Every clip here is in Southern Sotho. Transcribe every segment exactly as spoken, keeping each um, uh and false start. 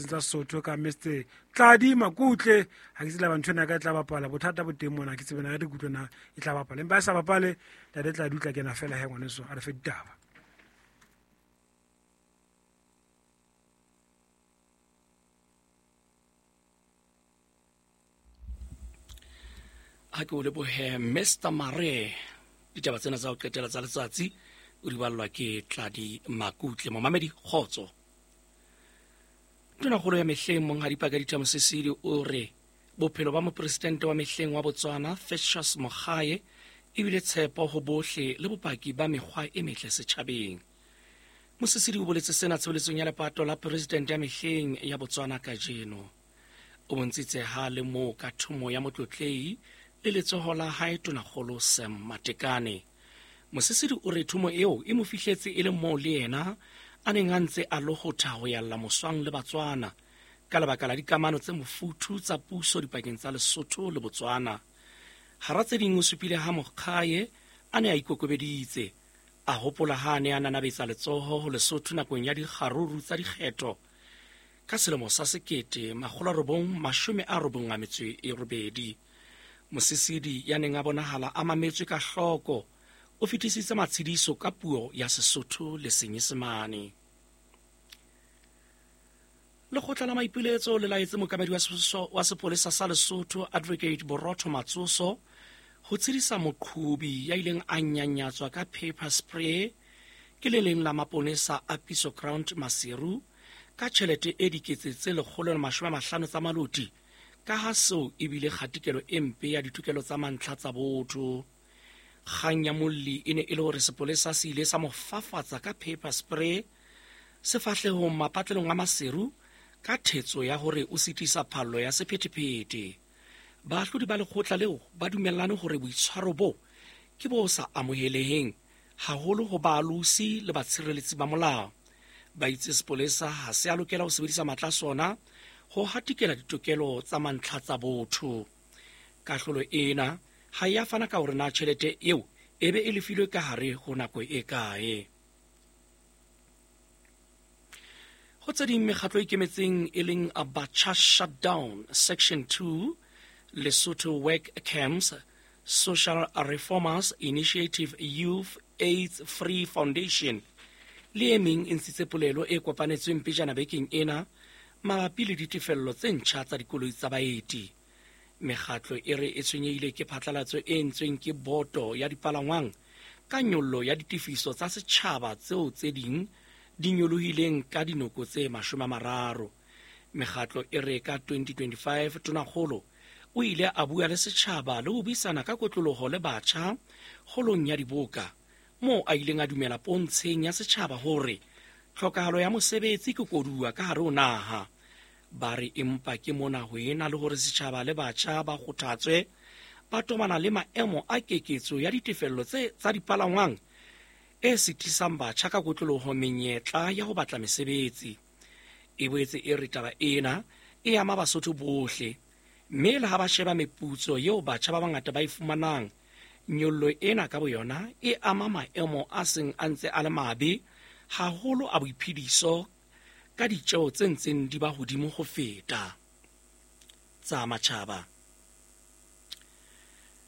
tsa Sesotho ka Mister Tladi Makutle. Ha ke tsela ntho ena ka e tla bapala, bothata bo teng mona, ke tsebe na re kutlwe na e tla bapala. Empa e sa bapale, ntate Tladi o tla kena fela he ngwaneso, a re fe ditaba. Ha ke o lebohe Mister Mare. Ditaba tsena tsa ho qetela tsa letsatsi o di ballwa ke Tladi Makutle. Momamedi, kgotso. Tonakgolo ya mehleng Monghadi Pakalitha Mosisili o re bophelo ba mopresidente wa mehleng wa Botswana Festus Mogae ebile tshepo ho bohle le bopaki ba mekgwa e metle setjhabeng. Mosisili o boletse sena tshebeletsong ya lepato la presidente ya mehleng ya Botswana kajeno. O bontshitse ha le moo ka thomo ya motlotlei le letsoho la hae tonakgolo Sam Matekane. Mosisili o re thomo eo e mo fihletse e le moo le yena a neng a ntse a lohotha ho yalla moswang le Batswana ka lebaka la dikamano tse mofuthu tsa puso dipakeng tsa Lesotho le Botswana. Hara tse ding o supile ha Mogae a ne a ikokobeditse, a hopola ha a ne a nanabetsa letsoho ho Lesotho nakong ya dikgaruru tsa dikgetho ka selemo sa sekete makgolo a robong mashome a robong a metso e robedi. Mosisili ya neng a bonahala a mametswe ka hloko o fetisitse matshediso ka puo ya Sesotho le Senyesemane. Lekgotla la maipiletso le laetse mookamedi wa sepolesa sa Lesotho Advocate Borotho Matsoso ho tshedisa moqhubi ya ileng a nyanyatswa ka paper spray ke le leng la maponesa a Piso Ground Maseru ka tjhelete e dikete tse lekgolo le mashome a mahlano tsa maloti, ka ha seo ebile kgatikelo e mpe ya ditokelo tsa mantlha tsa botho. Kgang ya molli e ne e le hore sepolesa se ile sa mo fafatsa ka paper spray sefahlehong mapatlelong a Maseru ka thetso ya hore o sitisa phallo ya sephethephethe. Baahlodi ba lekgotla leo ba dumellane hore boitshwaro bo ke bo sa amoheleheng haholo ho baalosi le batshireletsi ba molao. Ba itse sepolesa ha se a lokela ho sebedisa matla a sona ho hatikela ditokelo tsa mantlha tsa botho. Kahlolo ena ha ya fana ka hore na tjhelete eo e be e lefilwe ka hare ho nako e kae. Ho tse ding, mekgatlo e ikemetseng e leng Abacha Shutdown Section two, Lesotho Work Camps, Social Reformers Initiative Youth AIDS Free Foundation le e meng e ntshitse polelo e kopanetsweng pejana bekeng ena mabapi le ditefello tse ntjha tsa dikoloi tsa baeti. Mekgatlo e re e tshwenyehile ke phatlalatso e entsweng ke boto ya dipalangwang ka nyollo ya ditefiso tsa setjhaba tseo tse ding di nyolohileng ka dinoko tse mashome a mararo. Mekgatlo e re ka twenty twenty-five tonakgolo o ile a bua le setjhaba le ho buisana ka kotloloho le batjha holong ya diboka, moo a ileng a dumela pontsheng ya setjhaba hore tlhokahalo ya mosebetsi ke koduwa ka hare ho naha. Ba re empa ke mona ho ena le hore setjhaba le batjha ba kgothatswe ba tobana le maemo a keketso ya ditefello tse tsa dipalangwang e sitisang batjha ka kotloloho menyetla ya ho batla mesebetsi. E boetse e re taba ena e ama Basotho bohle, mme le ha ba sheba meputso eo batjha ba bangata ba e fumanang, nyollo ena ka boyona e ama maemo a seng a ntse a le mabe haholo a boiphediso ka ditjeo tse ntseng di ba hodimo ho feta tsa matjhaba.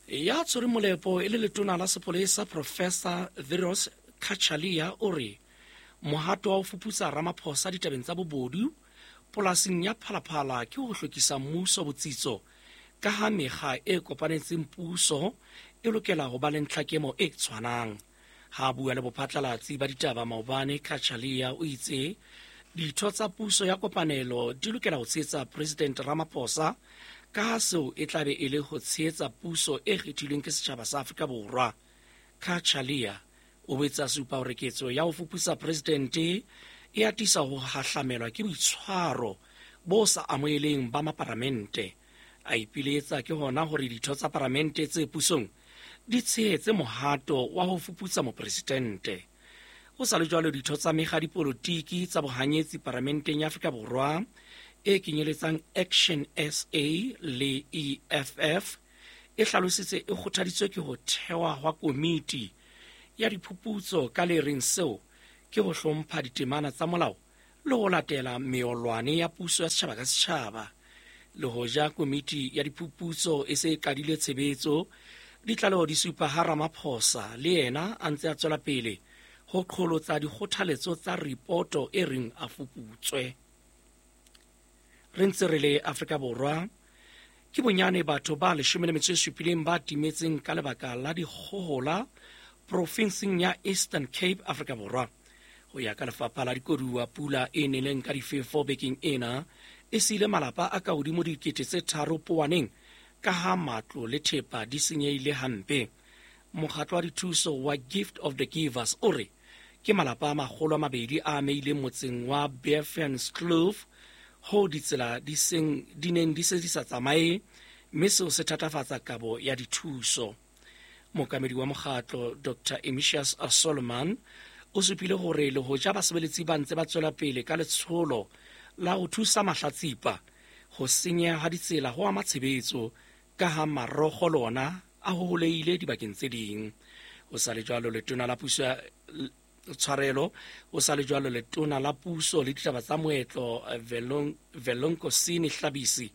Ya tshwereng molepo e le letona la sepolesa Professor Firoz Cachalia o re mohato wa ho fuputsa Ramaphosa ditabeng tsa bobodu polasing ya Phalaphala ke ho hlokisa mmuso botsitso, ka ha mekga e kopanetseng puso e lokela ho ba le ntlhakemo e tshwanang. Ha bua le bophatlalatsi ba ditaba maobane, Cachalia o itse ditho tsa puso ya kopanelo di lokela ho tshehetsa President Ramaphosa ka ha seo e tlabe e le ho tshehetsa puso e kgethilweng ke setjhaba sa Afrika Borwa. Cachalia o boetse a supa hore ketso ya ho fuputsa presidente e atisa ho hahlamelwa ke boitshwaro bo sa amoheleng ba maparamente. A ipiletsa ke hona hore ditho tsa paramente tse pusong di tshehetse mohato wa ho fuputsa mopresidente. Ho sa le jwalo, ditho tsa mekga dipolotiki tsa bohanyetsi paramenteng ya Afrika Borwa e kenyeletsang Action S A le E F F e hlalositse e kgothaditswe ke ho thewa hwa komiti ya diphuputso ka le reng seo ke ho hlompha ditemana tsa molao Le ho latela meolwane ya puso ya setjhaba ka setjhaba. Le hoja komiti ya diphuputso e se e qadile tshebetso, ditlaleho di supa ha Ramaphosa le yena a ntse a tswela pele ho qholotsa dikgothaletso tsa ripoto e reng a fuputswe. Re ntse re le Afrika Borwa, ke bonyane batho ba leshome le metso e supileng ba timetseng ka lebaka la dikgohola profinseng ya Eastern Cape, Afrika Borwa. Ho ya ka lefapha la dikoduwa, pula e neleng ka difefo bekeng ena e siile malapa a ka hodimo dikete tse tharo powaneng ka ha matlo le thepa di senyehile hampe. Mokgatlo wa dithuso wa Gift of the Givers o re ke malapa a makgolo a mabedi a amehileng motseng wa Beervenskloof ho ditsela di seng di neng di se di sa tsamaye, mme seo se thatafatsa kabo ya dithuso. Mookamedi wa mokgatlo Doctor Emisius Solomon o supile hore le hoja basebeletsi ba ntse ba tswela pele ka letsholo la ho thusa mahlatsipa, ho senyeha ha ditsela ho ama tshebetso ka ha marokgo lona a hoholehile dibakeng tse ding. Ho sa le jwalo letona la puso ya tshwarelo ho sa le jwalo letona la puso le ditaba tsa moetlo Velenkosini Hlabisi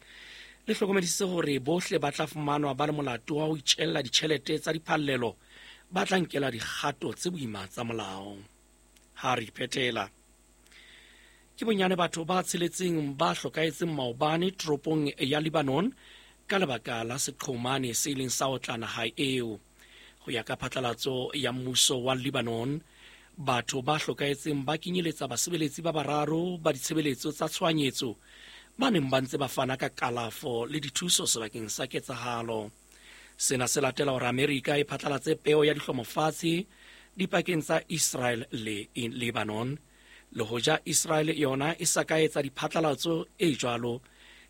le hlokomedisitse hore bohle ba tla fumanwa ba le molato wa ho itjella ditjhelete tsa diphallelo ba tla nkela dikgato tse boima tsa molao. Ha re phethela, ke bonyane batho ba tsheletseng ba hlokahetseng maobane toropong ya Lebanon ka lebaka la seqhomane se ileng sa otla naha eo. Ho ya ka phatlalatso ya mmuso wa Lebanon, batho ba hlokahetseng ba kenyeletsa basebeletsi ba bararo ba ditshebeletso tsa tshohanyetso ba neng ba ntse ba fana ka kalafo le dithuso sebakeng sa ketsahalo. Sena se latela hore Amerika e phatlalatse peo ya dihlomofatshe dipakeng tsa Israel le Lebanon. Le hoja Israel yona e sa ka etsa diphatlalatso e jwalo,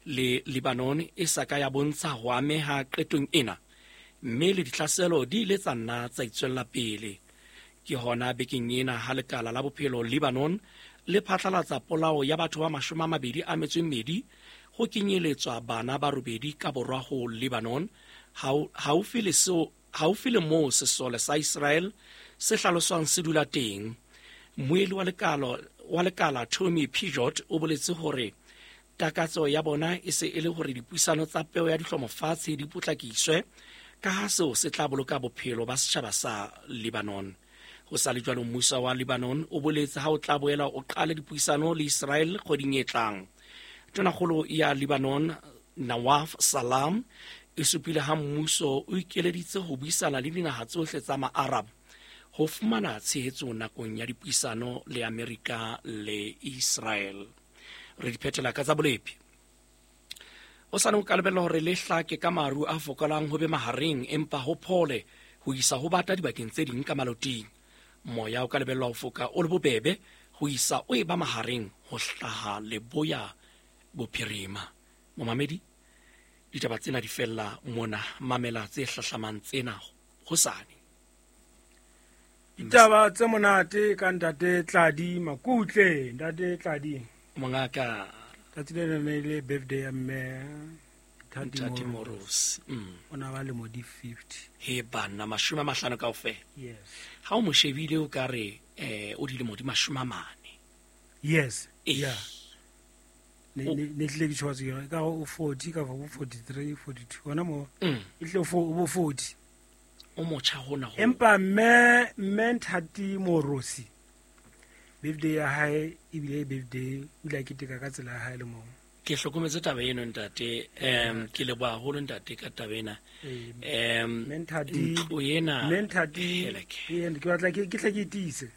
le Lebanon e sa ka ya bontsha ho ameha qetong ena, mme le ditlhaselo di ile tsa nna tsa itswella pele. Ke hona bekeng ena ha lekala la bophelo Lebanon le phatlalatsa polao ya batho ba mashome a mabedi a metso e mmedi ho kenyeletswa bana ba robedi ka borwa ho Lebanon, haufi le seo haufi le moo sesole sa Israel se hlaloswang se dula teng. Mmueli wa lekala wa lekala Tommy Pijot o boletse hore takatso ya bona e se e le hore dipuisano tsa peo ya dihlomofatshe di potlakiswe ka ha seo se tla boloka bophelo ba setjhaba sa Lebanon. Ho sa le jwalo, mmuso wa Lebanon o boletse ha o tla boela o qale dipuisano le Israel kgweding e tlang. Tonakgolo ya Lebanon Nawaf Salam e supile ha mmuso o ikeleditse ho buisana le dinaha tsohle tsa ma-Arab ho fumana tshehetso nakong ya dipuisano le Amerika le Israel. Re di phethela ka tsa bolepi. O sa ne o ka lebella hore le hlake ka maru a fokolang ho be mahareng, empa ho phole ho isa ho bata dibakeng tse ding ka maloting. Moya o ka lebellwa ho foka o le bobebe ho isa o e ba mahareng ho hlaha leboya bophirima. Momamedi, ditaba tsena di fella mona, mamela tse hlahlamang tsena hosane. Ditaba tse monate ka ntate Tladi Makutle. Ntate Tladi mongaka, tsatsi lena ne le birthday ya mme Ntate Moros. Mm. O na ba lemo di fifty. He banna, mashome a mahlano kaofela. Yes. Ha o mo shebile o ka re eh o dilemo di mashome a mane. Yes. Yeah. Ne ne tle ke tshwatse yona ka o forty ka go forty-three, forty-two hona mo. E tle o forty. O motjha hona ho. Empa mme mme Ntate Morosi birthday ya hae ebile birthday o ile a keteka ka tsela ya hae le mo. Ke hlokometse taba eno ntate, em ke leboha haholo ntate ka taba ena. Em ntlo ena mme Ntate ke batla ke tle ke tiise.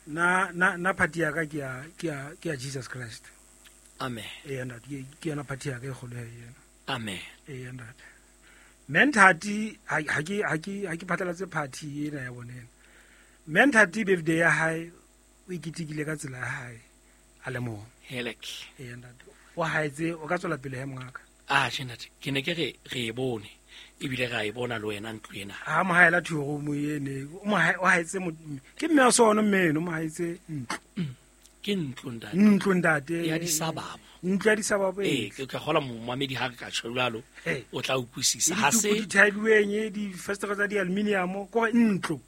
Na na na party ya ka ke ya ke ya ke ya Jesus Christ. Amen. Eh ntate ke yona party ya ka e kgolo ena. Amen. Eh ntate. Mme Ntate ha ke ha ke ha ke phatlalatse party ena ya bona ena. Mme Ntate birthday ya hae o iketekile ka tsela ya hae a le mong. Helek. Eh ntate. O haetse o ka tswela pele he mongaka. Ah ntate, ke ne ke re re e bone ebile ra e bona le wena ntlo ena. Ha mo haela two room ene, o mo o haetse ke mme a sona mme eno mo haetse ntlo. Ke ntlo ntate. Ntlo ntate. Ya disababo. Ntlo ya disababo e. Eh ke kgola momamedi ha re ka tjho jwalo o tla utlwisisa. Ha se di thailweng di festere tsa di aluminium ko ntlo.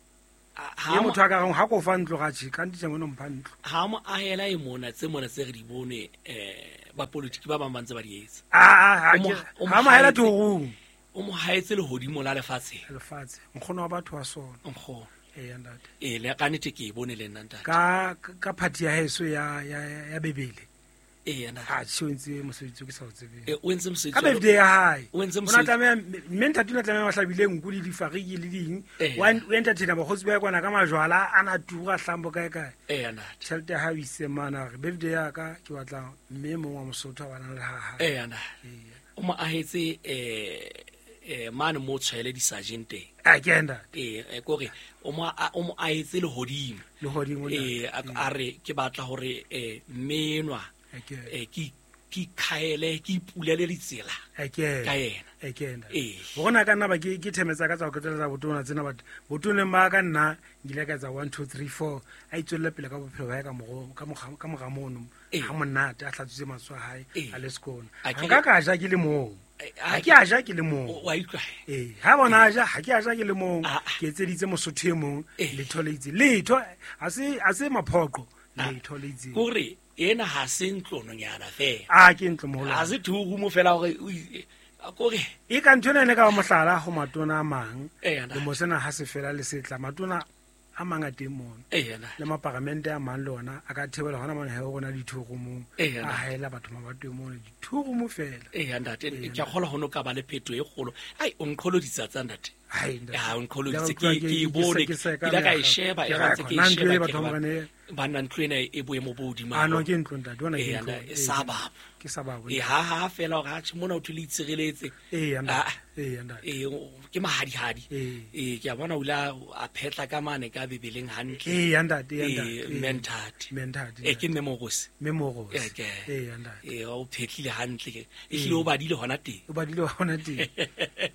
Ye motho a ka reng ha ko fa ntlo ga tjhe ka ntitse mona mpha ntlo. Ha mo ahela e mona tse mona tse re di bone eh ba politiki ba bang ba ntse ba di etsa. Ah ah ha mo ahela torong. O mo haetse lehodimo la lefatshe. Lefatshe. Nkgono wa batho wa sona. Nkgono. Eh ntate. Eh le ka nete ke e bone le nna ntate. Ka ka party ya heso ya ya ya bebele. Eh ntate. Ha tjhe o ntse mosebetsi o ke sa o tsebeng. Eh o entse mosebetsi. Ka birthday ya hae. O entse O na mosebetsi. tlameha mme ntate o na tlameha ba hlabile nku le difariki le ding. Wa o entertainer bakgotsi ba kwana ka majwala a na tura hlambo kae kae. Eh ntate. Tjhelete ya hae o ise mana re birthday ya ka ke batla mme mong wa Mosotho a bana le ha hae. Eh ntate. O mo ahetse eh eh mane mo tshwele di sergeant teng. A ke ntate. Eh kore o mo o mo ahetse lehodimo. Lehodimo Eh a re ke batla hore eh mme enwa eh ke ke khaele ke ipulele ditsela. Ke ka yena. E ke ntate. Eh Bona ka nna ba ke ke themetsa ka tsa go qetela botona tsena batho. Botoneng ba ka nna ngile ka etsa one two three four a itswelle pele ka bophelo ba ka mogo ka moga ka moga mono. Ha monate a hlatswitse matsoho a hae a le sekolo. Nka ka ja ke le moo. Ha ke a ja ke le mong. Wa utlwa. Eh ha bona ja ha ke a ja ke le mong. Ke etseditse Mosotho e mong letho le itse. Letho ha se ha se maphoqo letho le itse. Kore ena ha se ntlononyana fela. A ke ntlo moholo. Ha se thurumo fela hore kore e ka ntho ena ne ka ba mohlala ho matona a mang. Le mosena ha se fela le setla matona a mang a teng mono. Le maparamente a mang le ona a ka thebela hona mona he rona dithurumo. A haela batho mabatwe mono dithurumo fela. Eh ntate ke a kgola hono ka ba le phetho e kgolo. Ai o nqholoditsa tsa ntate. Ai ntate. Ha o nqholoditse ke ke bone ke la ka e sheba e ntse ke e sheba. Ba nna ntlo ena e boemo bo hodimo. A no ke ntlo ntate ona ke ntlo. E sabab. Ke sabab. E ha ha fela hore ha tjhe mona o thole itshireletse. Eh ntate. Eh ntate. Eh ke mahadihadi. Eh ke a bona o la a phetla ka mane ka bebeleng hantle. Eh ntate eh ntate. Mentate. Mentate. Eh ke Memorosi. Memorosi. Eh ke. Eh ntate. Eh o phetlile hantle. E hlile o badile hona teng. O badile hona teng.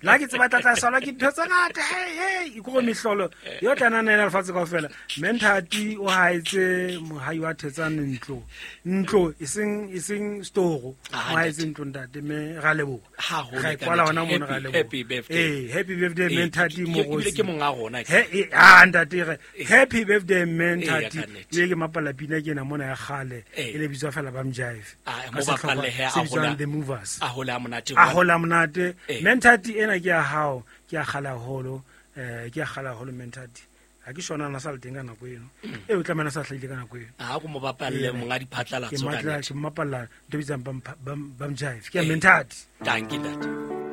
La ke tseba tlatla sala ke ntho tse ngata hey hey ikore mehlolo yo tla nana ena lefatshe kaofela. Mentate o haetse mohai wa thetsane ntlo. Ntlo e seng e seng storo. O haetse ntlo ntate me ra leboha. Ha ho le ka kwala hona mona ra leboha. Happy birthday. Eh happy birthday Mentate Morosi. Ke monga rona ke. He ah ntate re happy birthday Mentate. Le ke mapala pina ke ena mona ya kgale e le bitswa fela ba mjive. Ah mo bapalle he a hola the movers. A hola monate. A hola monate. Mentate ena ke ya hao ke ya kgala holo eh ke ya kgala holo Mentate. Ha ke shona na sa le teng ka nako eno. E o tlamehana sa hlahile ka nako eno. Ha go mo bapalle monga diphatlalatso ka nete. Ke matla ke mapalla ntho bitsang bam bam jive. Ke ya Mentate. Dankie ntate.